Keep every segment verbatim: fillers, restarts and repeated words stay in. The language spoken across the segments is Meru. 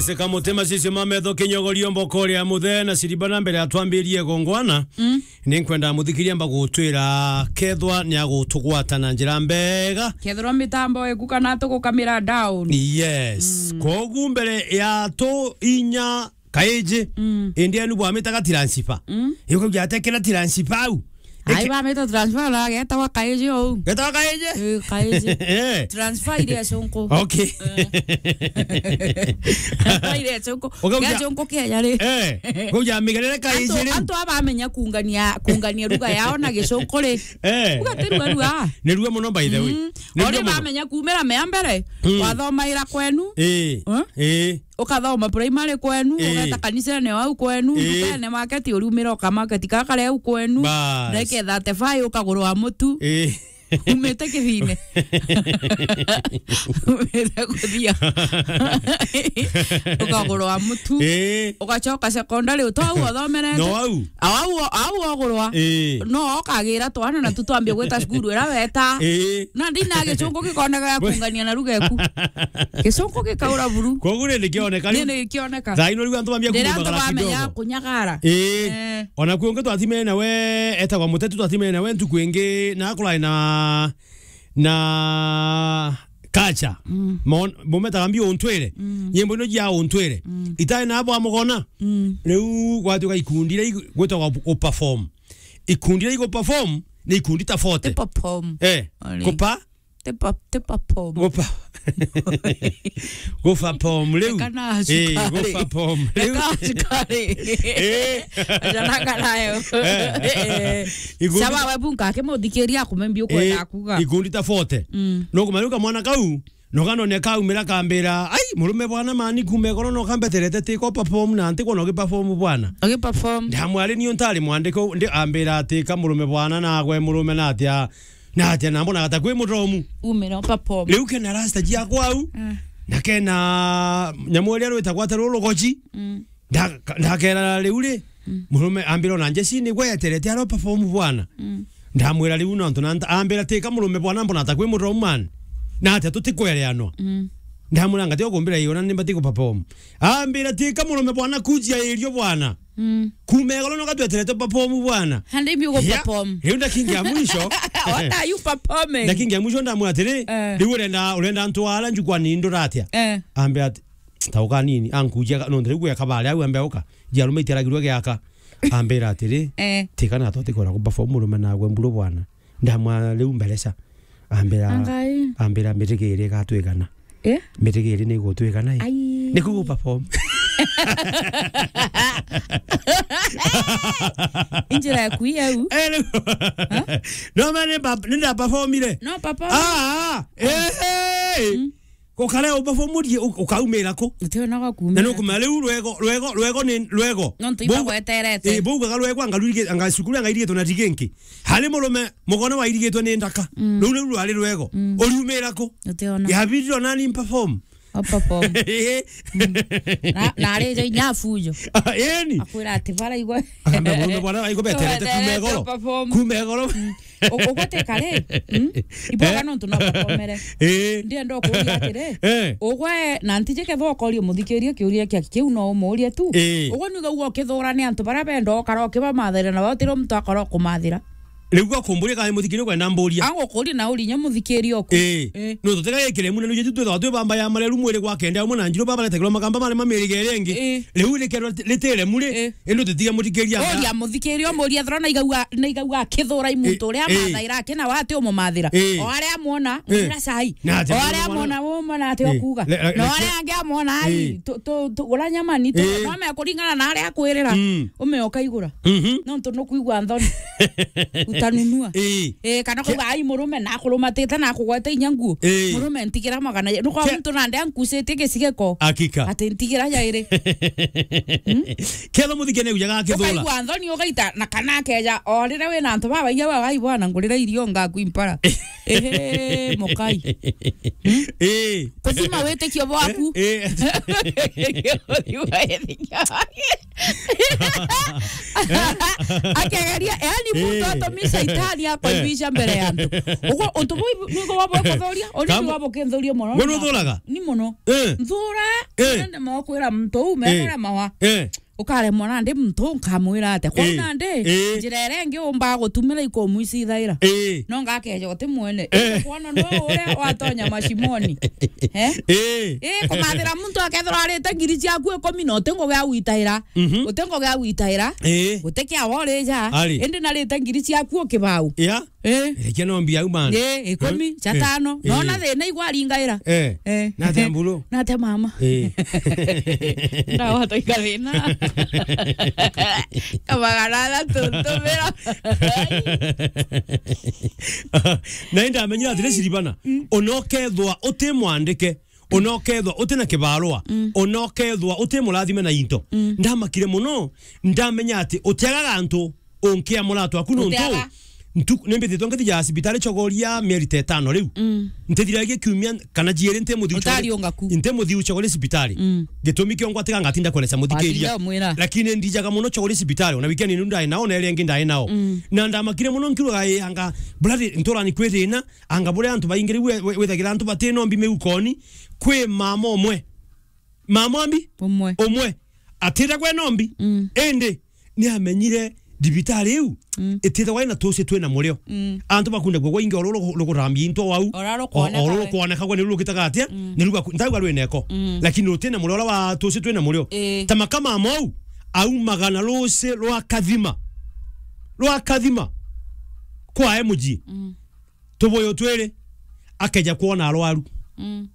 Seka mutima cicio ma metho kinyogorio mbokori ya muthe na siriba na mbere atwambirie gongwana. Mm. Ni nkwenda muthikiria mba gutwira kethwa ni agutugwata na njira mbega. Kethirwa mitambo iku kana tugukamira down. Yes. Mm. Kogu mbere ya tu inya kaiji. Mm. Indi enu bwamitaga transfer. Mm. Yuko jatekera transfer au. Ai, bamita transfer na getagwa kaiji ou. Getagwa kaiji? Eh, kaiji. Eh. Transfer ile ya Sonko. Okay. Eh. Transfer ile ya Sonko. Uga ya uja- Sonko kia yari. Eh. Uga uja migerere kaiji Antu, riu. Antu abamenya kungania, kungania lugha yao na Gicunku ri. Eh. Uga ti rua rua. Ni rua muno by the way. Mm. Ni rua muno. Ori bamenya kumira mea mbere, mm, wathomaira kwenu. Eh. Eh? Eh. Ukathoma primary kwenu, eh, ugeta kanisene wau kwenu, eh, ndukene market, uriumira uka market kaka kari au kwenu. Bas. Ndeke thirty-five ukagurwa mutu. Eh. Umite kithine. Umite kuthia. Ukagurwa mutu. Eh. Ugacoka secondary, uto au uthomerete. No au? Au, au, au ugurwa. Eh. No ukagira twana na tu twambie gwita cukuru ira weta. Eh. Na ndina Gicunku gikoneka ya kungania na ruga eku. Gicunku gikaura buru. Koguo ni nikioneka riu. Ni nikioneka. Thaa ino riu antu bambia kunyagara kidogo. Ndira antu bamenya kunyagara. Ii. Eh. Ona kwi ungi twatimene nawe, etagwa Mutetu, twatimene nawe ntuku ingi, na akulai na, na Kacha. Mm. Mon-, mumetaga mbi untwire. Mm. Nyimbo ino jia untwire. Mm. Itai na bwa mugona. Mm. Riu gwatuika ikundi iria igu-, gwitagwa u-, uperform. Ikundi iria iguperform ni ikundi ta forty. Ti perform. Eh, ori. Kupa? Ti pa-, ti perform. Gupa-, guperform riu. Eka na cukari. Eh, guperform riu. Eka cukari. Eh. Ajananga nayo. Eh. Eh. Ikundi Sawa, ta- we bunka akimuthikiria akumembi ukwenda, eh, kuga. Ikundi ta forty. Mm. No kumenya kamwana kau, no kanone kaumira kambira, "Ai, murume bwana mani kume goro no kambeterete ti ko perform na nti kwona ugiperform bwana." Ugiperform. Ndamwari ni untari mwandiko, ndi ambira ati ka murume bwana nagwe murume na atia. Na atia na mbona gata kwi mutomu. Umira uperform. Riu kena rasta jia kwau. Mm. Na kena nyamu iria rwitagwa ati rurugoji. Mm. Nda-, ndakera riu ri, mm, murume ambira ona Jesse ni gwe eterete aro perform bwana. Mm. Ndamwira riu nontu na nta-, ambira tika murume bwana mbona ata kwi mutomu man. Na atia tutikwereanwa. Mm. Ndamwira ngati ukumbira iona ni mbati ku perform. Ambira tika murume bwana kujia irio bwana. Mm. Kuma igoro no gatweterete perform bwana. Hande imbi ugo perform. Riu ndakingia mwisho. What are you performing? Ndakingia mwisho ndamwira atiri, eh, riu urenda, urenda ntwara njukwani nduratia. Eh. Ambe ati, tauka nini, ankujia ka-, no ndiriu gweka bari au ambe uka. Jia rume iteragirwe giaka. Ambira atiri, eh, tika na toti kwenda ku perform murume nagwe mburu bwana. Ndamwa riu mbereca. Ambira, Angai. Ambira mitigiri igatwigana. Eh? Mitigiri ni igutwigana i. Ai. Ni ku perform. Injira ya kuia u. Eh, ni-, no, man, ni ba-, ni nda performire. No, perform. Ah, ah, eh, eh. Mm. Gukare uperformurie, u-, ukaumira ku? Uti ona gwa kumira. Na nukumenya riu rwego, rwego, rwego ni rwego. Nontu ibagweterete. Eh, baugaga rwego anga rurige-, anga cukuru anga irigitwe na rigenki. Hari murume, mugone wairigitwe ni ndaka. Mm. Ruu riu rwari rwego. Mm. Uriumira ku? Uti ona. Yabirire ona ni perform. O perform. Eh. Mm. Na, na ari ja inya fujo. Ah, eni. Akwira ati bara igwe. Ambe murume bwana waigwe beterete kuma igoro. Perform. Kuma igoro. Mm. U-, ugwe ti kare, mm? Iboga, eh? Nontu no bakomere. Eh. Ndienda ukuria atiri, eh, ugwe na ntiji kethwa ukoria muthikiria kiuria kia kiu no umurie tu. Eh. Ugwe ni ugauga ukithura ni antu baria benda ukara ukibamathira na we utiri muntu akora ukumathira. Riu gwa kumburia kana muthikiria ukwenda mburia. Angukuria na uri inya muthikiria oku. Eh. Eh. No tutega gikire muna nuje tu twithwa twi bamba ya mareru mwiri gwa kende amwe na njiru babaretagirwa magamba mari mamirige iri ingi. Eh. Riu rikero ritire muri. Eh. Indi utitiga muthikiria anga. Uria muthikiria, umuria thora na igauga, na igauga akithura i muntu, eh, uria, eh, amathaira ake na we ati umumathira. Eh. O aria amwona, eh, ngwira cai. Na atia. O aria amwona, umona ati, eh, okuga. Le-, le-, na o aria angi amwona, ai, eh, tu-, tu-, tu-, gura nyama ni tu-, eh, no me kuringana na aria akwirira. Mm. Ume ukaigura. Mhm. Nontu nukwigua nthoni. Utanunua. Eh. Eh, kana ke- kuga, ai, murume na akurumatite na akugwete inya nguo. Eh. Murume ntigira magana ja-, nukwa ke- muntu nande ankucitie gicigeko. Hakika. Ati ntigira jairi. Hmm? Ketho muthikene ujaga kithura. Ukaigua nthoni ugaita na kana akeja, o riria wina antu babaingi bagai bwana ngurira irio ngaku impara. Ehe, mukai. Hmm? Eh. Kuthima witikio bwaku. Eh, eh. Kuthima witikio. Akegeria, yani, muntu Eh. atumisha itani akwa Eh. ibisha mbere ya antu. Ugo, untu buu niguo bwa kuthuria, uri Kamu- niguo bukinthuria mono. Gwe nuthuraga? Ni mono. Eh. Nthura, Eh. nende makwira muntu uu, Eh. mekore mawa. Eh. Ukaremwa nandi muntu nkamwira atia? Kwou Eh. nandi, Eh. njira iria ingi umbaga gutumira ikumwicithaira. Eh. No ngakeja uti mwene. Eh. Kwona no uria watonya mashimoni. Eh? Eh. Eh, kumathira muntu akethirwa arite ngiri ciaku ikumi na uti ngugi ya gwitaira. Mhm. Uti ngugi ya gwitaira. Eh. Guti kia worija. Ari. Indi narite ngiri ciaku ukibau. Ya. Eh. Rekia no mbia au man. Eh, ikumi, Eh. cia tano. Eh. Nona thina igwaringaira. Eh. Eh. Nate mburu. Nate mama. Eh. Ndawata ikathina. Kamagana athatu ntumira. Na indamenyire atiri Siribana. Mm. Ona ukethwa uti mwandike. Ona ukethwa uti na kibarua. Mm. Ona ukethwa uti murathime na into. Mm. Ndamakire muno. Ndamenya ati utiagaga antu unkia muratu waku nontu Utiaga. Ntu-, nimbithitwe ngithija cibitari chogoria mieri ta itano riu. Mm. Ntithiragia kiumia kana jiiri nti muthiu chogori-, Utariunga ku. Nti muthiu chogori cibitari. Mm. Gitumi kio ngwatiga ngatinda kueleza muthikiria. Watinda umwira. Lakini ndijaga muno chogori cibitari, ona weekend inu ndai nao, na iria ingi ndai nao. Mm. Na ndamakire muno nkiugaga, "Ii, anga, brother, nturani kwi thina, anga buria antu baingi riu we-, we-, withagira antu bati nombi miukoni, kwi mama umwe." Mama mbi? Umwe. Umwe. Atira gwe nombi. Mm. Indi, ni amenyire thibitari iu, mm, itithagwa ina tuci twina murio. Mm. Antu bakunda gwe gwaingi oro rukurambia into wau. Oro rukwoneka o-, oro we. Rukwoneka gwe ni rukitaga atia? Mm. Ni ruga ku-, ntauga rwineko. Mm. Lakini rutina murio ora wa tuci twina murio. Ii. Ta makama mau, aumaga na ruci rwa kathima. Rwa kathima. Kwa emuji. Mm. Tubuyu twiri, akeja kwona arwaru. Mm.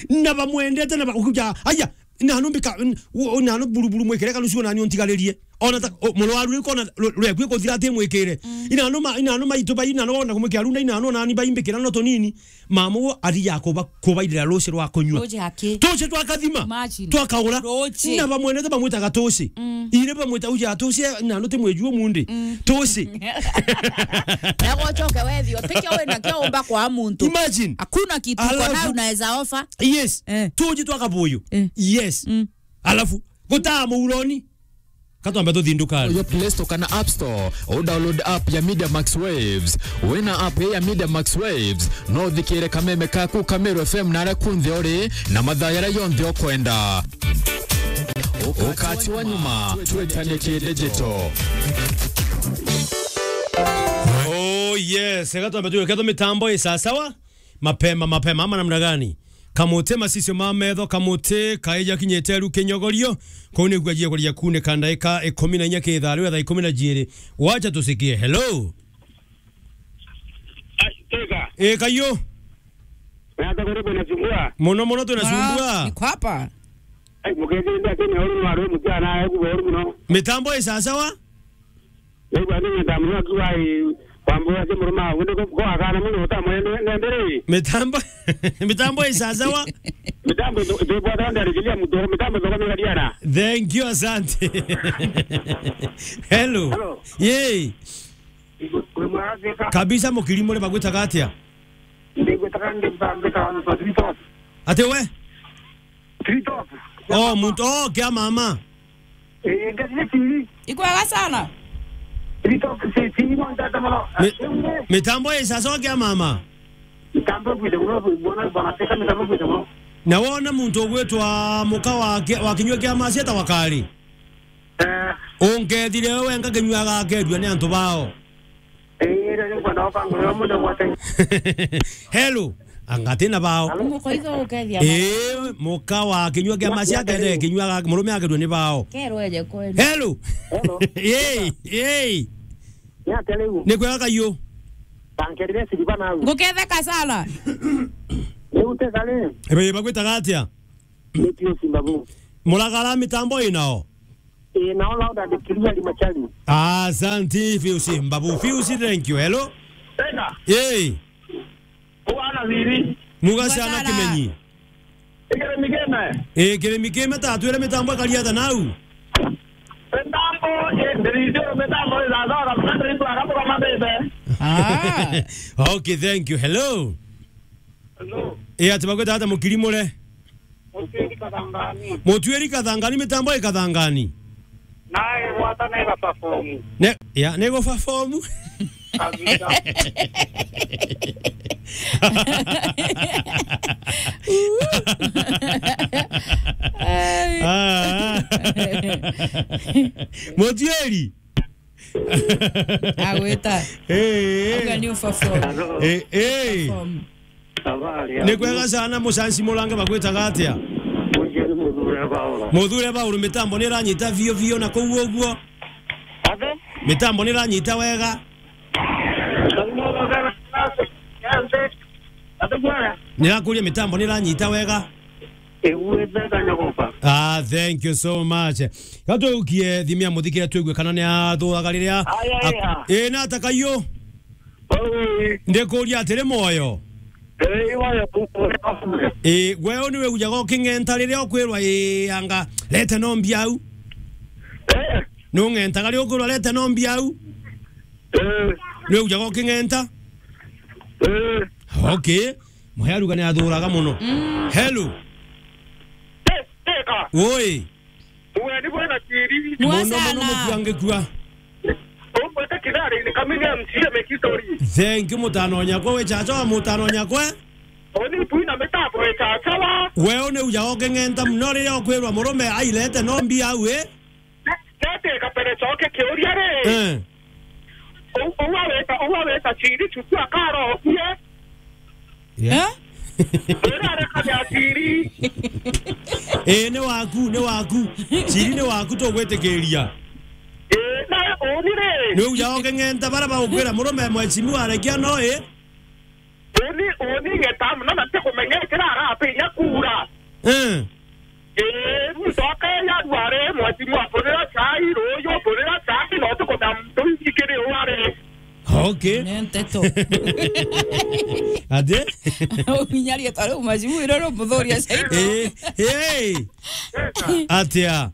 Na bamwendete na ba-, ukuja, aya, nanu mbika, n-, u-, u-, nanu buruburu mwikire kanucio nani untigaririe. Ona ta, o, murwaru ri kona, ru-, rweku ikuthira ati mwikire. Mm. Inanu ma-, inanu maitu bai, inanu ona kumwikia runda, inanu nani bai mbikira no tunini. Mama uo athija kuba-, kubairira ruci rwa kunyua. Ruci aki? Tuci twa kathima. Imagine. Twakaura. Ruci. Na bamwendete bamwitaga tuci. Mm. Ire bamwita uja tuci, inanu ti mweju umundi. Mm. Tuci. Na gwocoke wethio, tikio wina kio umba kwa muntu. Imagine. Hakuna kitu uko nayo unaweza offer. Alafu, yes. Eh. Tuji twa kabuyu. Eh. Yes. Mm. Alafu, gutaa muuroni. Katwambe tuthindukane. Yo Play Store kana App Store, u download app ya Media Max Waves. Wina app ya Media Max Waves, no uthikire kameme kaku Kameru F M na aria kunthe uri, na mathaa yaria yonthe ukwenda. Ukati wa nyuma, twetanie ki digital. Oh yes, gatwambe tuwe ketho mitambo i sawa sawa. Mapema, mapema, ama namna gani? Kamuti macicio ma metho, kamuti kaija kinyite ru kinyogorio. Kuu niguo ajia kuria kuuneka ndaika ikumi na inya ki thaa riu thaa ikumi na jiiri. Wacha tusikie. Hello? Ai, tega. Eh, kayo. Nata kuri bwana Sumbua. Muno muno twina Sumbua. Niko hapa. Ai, mukethire ndi ati ni uru ni waru mutiana, ai, kuboru muno. Mitambo i sawa sawa? Riu andu nyenda muno akiuga, "Ii, wambuga ati murume waku ndi ko-, ko akana muno utamwende, nende ri?" Mitambo, mitambo i sawa sawa. Mitambo itu-, itubwata ndarikiria muntu, mitambo ithoka migariana. Thank you, asante. Hello. Hello. Yee. Igu-, wi mwega Thika? Kabisa, mukiri muri bagwitaga atia? Ndigwitaga ndi mba-, mbitaga Mutwa Three Top. Ati we? Three Top. Oh, muntu, oh, kia mama. Eh, ngati ni T V. Ikwega sana. Three Top, si, si, ni montata mono. Mi-, mitambo i sawa sawa kia mama. Mitambo kwite mono, bona, bona, teka mitambo kwite mono. Na wona muntu ugwitwa muka wa ki-, wa kinyua kia macia ta wakari? Eh. Ungethire we wenga kinyua agakerua ni antu bao. Ii, riu nkwenda gukangurira mundu gwate. Hello, anga tina bao. Alo? Muka itho ukethia. Ii, muka wa kinyua kia macia kethire kinyua ga murume akerua ni bao. Kerwa eje kwenu. Hello. Hello. Yei, yei. Ni atia riu? Ni kwega kayo. Tankerire siriba nau. Nguketheka sana. Riu teka ri? Ebe bagwitaga atia? Ni Pius Mbabu. Muragara mitambo inao? Ii, nao loud and clear, Limachari. Asante, Pius Mbabu. Pius, thank you. Hello? Tena. Yei. Kuana thiri. Mugacana Mugacana. Kimenyi. Ikere mikeme. Ii, kiri mikeme ta twire mitambo ikariata nau. Mitambo, ii, ndiritio mitambo ithazora, mkate ibu akabuka mabebe. Ah. Okay, thank you. Hello? Hello. Ii, ati bagwita ata mukiri mure? Mutuiri Kathangani. Mutuiri Kathangani, mitambo i Kathangani. Nae, Hata nega perform. Ne, ya, nego perform. Kabisa. Ai. Ah. Mutieri. Agwita. Eh. Auga ni uperform. Eh, eh. Perform. Habari ya. Ni kwega sana, mucanci murange bagwitaga atia? Mujeni muthure Paulo. Muthure Paulo, mitambo ni iranyita biu biu na kuu uguo? Ate? Mitambo ni iranyita wega? Ate bwana? Nirakuria, mitambo ni iranyita wega? Iguite kanyagoka. Ah, thank you so much. Gatweukie thimia muthikire twigue kana ni athuraga riria. Aya, aya. Eh, na atakayo. Oi. Ndikuria atiri, mwoyo? Eh, mwoyo. Eh, gwe ni wigujaga uking'enta riria ukwirwa, eh, anga, rete no mbiau? Eh. Ni ung'entaga riria ukwirwa, rete no mbiau? Eh. Ni wigujaga uking'enta? Eh. Okay. Muhearuga ni athuraga muno. Mm. Hello. Te-, teka. Woi. Uwe ni bwana Tiri. Mwa sana. Muno, muno, mutuangikua. Umwete kidari ni kamini ya M C A mekitori. Thank you, mutano nyakwa, we chacha wa mutano nyakwa. Oni tuina mitapo e chacha wa. Wewe ni uja uking'enta muno riria ukwirwa murume ailete no mbiau, eh? Nete kapere choke kiuria ri. Eh. U-, uwa weta, uwa weta Tiri chutu akarokie. Yeah. Eh? Urare kabia Tiri. Eh, ni waku, ni waku. Tiri ni waku, tugwitikiria. Eh, na uni ri. Ni uja uking'enta bara bagukwira murume mheshimiwa arekia no, eh? Uni, uni ng'eta muno na ntikumenya ikira arapiria kuura. Eh. Eh, ndoka ya rware, mheshimiwa, mbonera chai, ruyu, mbonera chai, no tukuda muntu ikiri ware. Okay. Ni nteto. Ati? Uminyarie tari mheshimiwa, iro ro muthuria chai. Eh, hey. Atia?